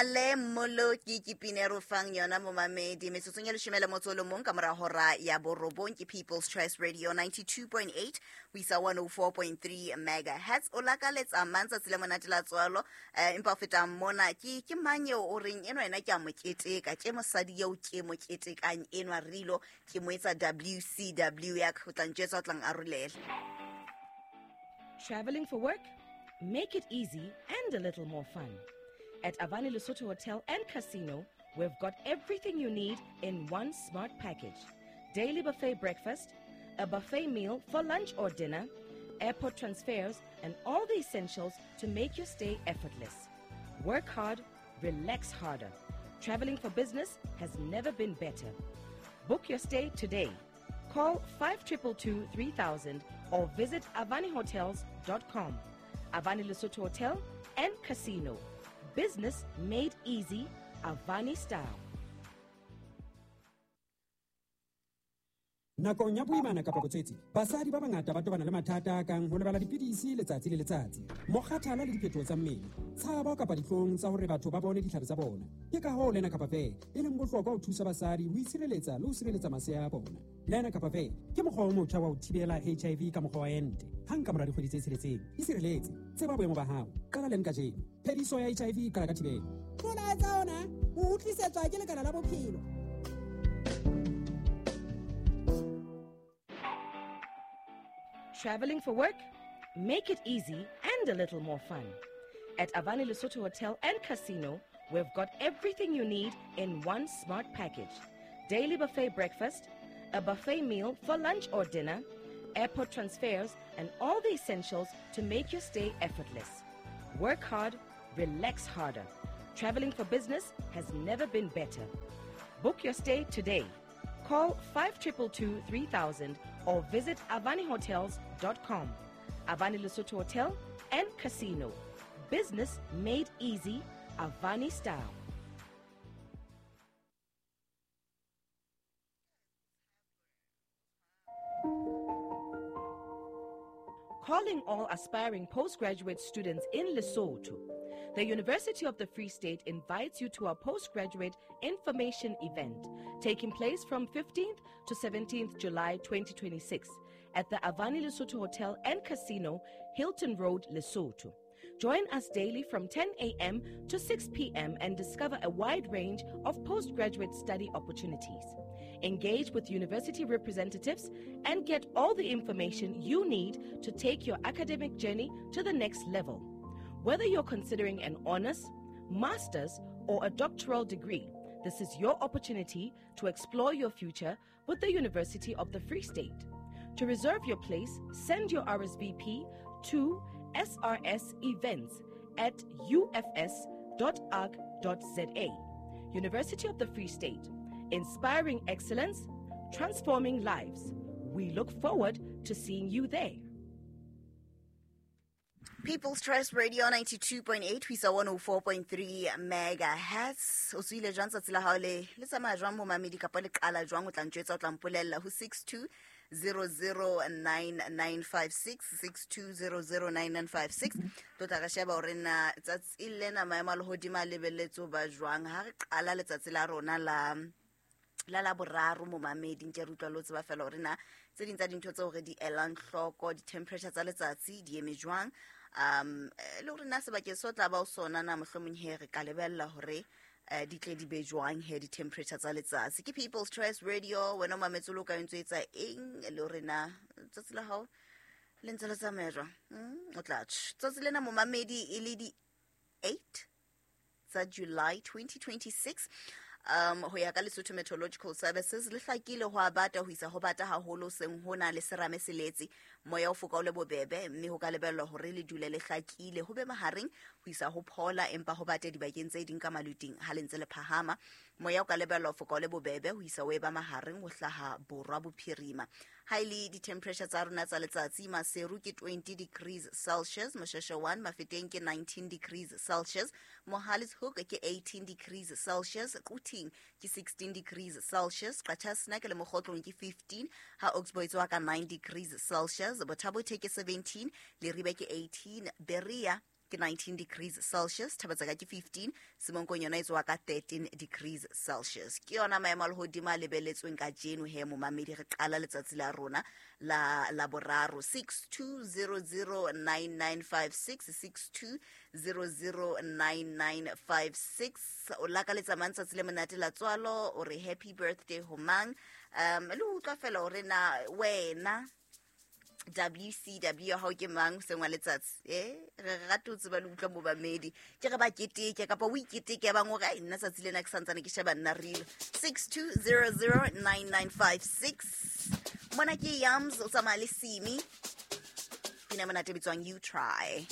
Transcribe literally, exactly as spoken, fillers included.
Le Mmoloki ke pina e re o fang yona momamedi metsotsong ya leshome le motso o le mong ka mora hora ya borobong ke People's Choice Radio ninety-two point eight ho isa one oh four point three megahertz. O lakaletsa mang tsatsi le monate la tswalo, eh, empa ho feta mona ke ke mang eo o reng enwa yena ke a mo keteka, ke mosadi eo ke mo ketekang enwa rilo ke mo etsa W C W ya ka, o tla ntjwetsa, o tla nkarolela. Traveling for work? Make it easy and a little more fun. At Avani Lesotho Hotel and Casino, we've got everything you need in one smart package. Daily buffet breakfast, a buffet meal for lunch or dinner, airport transfers, and all the essentials to make your stay effortless. Work hard, relax harder. Traveling for business has never been better. Book your stay today. Call five triple two three thousand or visit avani hotels dot com. Avani Lesotho Hotel and Casino. Business made easy, Avani style. Nakong ya boimana kapa botswetsi, basadi ba bangata ba tobana le mathata a kang ho lebala dipidisi letsatsi le letsatsi, mokgathala le diphetoho tsa mmele, tshabo kapa dihlong tsa hore batho ba bone ditlhare tsa bona. Ke ka hoo Lena Kapa Fair e leng bohlokwa ho thusa basadi ho itshireletsa le ho sireletsa masea a bona. Lena Kapa Fair ke mokgwa o motjha wa ho thibela H I V ka mokgwa wa ente. Hang ka mora dikgwedi tse tsheletseng, isireletse, tseba boemo ba hao, qala leng kajeno. Phediso ya H I V e qala ka thibelo. Molaetsa ona o utlwisetswa ke Lekala la Bophelo. Traveling for work? Make it easy and a little more fun. At Avani Lesotho Hotel and Casino, we've got everything you need in one smart package. Daily buffet breakfast, a buffet meal for lunch or dinner, airport transfers, and all the essentials to make your stay effortless. Work hard, relax harder. Traveling for business has never been better. Book your stay today. Call five triple two three thousand or visit avani hotels dot com. Avani Lesotho Hotel and Casino. Business made easy, Avani style. Calling all aspiring postgraduate students in Lesotho. The University of the Free State invites you to our postgraduate information event taking place from fifteenth to seventeenth July twenty twenty-six at the Avani Lesotho Hotel and Casino, Hilton Road, Lesotho. Join us daily from ten A M to six P M and discover a wide range of postgraduate study opportunities. Engage with university representatives and get all the information you need to take your academic journey to the next level. Whether you're considering an honors, master's, or a doctoral degree, this is your opportunity to explore your future with the University of the Free State. To reserve your place, send your R S V P to S R S events at U F S dot org dot Z A. University of the Free State, inspiring excellence, transforming lives. We look forward to seeing you there. People's Choice Radio ninety-two point eight, ho isa one oh four point three megahertz. O tswile jwang tsatsi la hao le, le tsamaya jwang momamedi kapa le qala jwang, o tla ntjwetsa, o tla mpolella ho six two zero zero nine nine five six, six two zero zero nine nine five six. Tlo tla re sheba hore na tsatsi lena maemo a lehodimo a lebelletse ho ba jwang ha re qala letsatsi la rona la la la boraro momamedi. Nke re utlwa le ho tseba fela hore na tse ding tsa dintho tseo re di elang hloko, di-temperature tsa letsatsi di eme jwang, um le hore na sebakeng seo tla ba o sona na mohlomong he re ka lebella hore, eh, di tle di be jwang he di-temperature tsa letsatsi. Ke People's Choice Radio, wena o mametse o le o ka o ntso etsa eng, le hore na tsatsi la hao le ntse le tsamaya jwang. Mm, o tla tjho. Tsatsi lena momamedi e le di eight tsa July twenty twenty-six. Um, ho ya ka Lesotho Meteorological Services, le hlakile ho a bata ho isa ho bata haholo seng hona le serame se letse, moya o foka o le bobebe, mme ho ka lebellwa hore le dule le hlakile ho be mahareng ho isa ho phola, empa ho bate dibakeng tse ding ka maluting ha le ntse le phahama. Moya o ka lebellwa ho foka o le bobebe ho isa ho eba mahareng ho hlaha borwa bophirima. Ha e le di-temperature tsa rona tsa letsatsi, Maseru ke twenty degrees Celsius, Mosheshe one, Mafeteng ke nineteen degrees Celsius, Mohale's Hoek ke eighteen degrees Celsius, Quthing ke sixteen degrees Celsius, Qacha's Nek le Mokgotlong ke fifteen, ha Oxbow e tswa ka nine degrees Celsius, Botha-Bothe ke seventeen, Leribe ke eighteen, Berea ke nineteen degrees Celsius, Thabatsaka ke fifteen, Semonkong yona e tsoha ka thirteen degrees Celsius. Ke yona maemo a lehodimo a lebelletsweng kajeno he momamedi, re qala letsatsi la rona la la boraro. Six two zero zero nine nine five six, six two zero zero nine nine five six. O lakaletsa mang tsatsi le monate la tswalo, o re happy birthday ho mang? Um, le ho utlwa fela hore na wena W C W ya hao ke mang hoseng wa letsatsi? Eh, re rata ho tseba le utlwa momamedi. Ke re ba keteke kapa o iketeke ya bang hore, ai, nna tsatsi lena ke santsane ke sheba nna reel. Six two zero zero nine nine five six. Mona ke Yams, o tsamaya le Simi. Pina monate e bitswang You Try.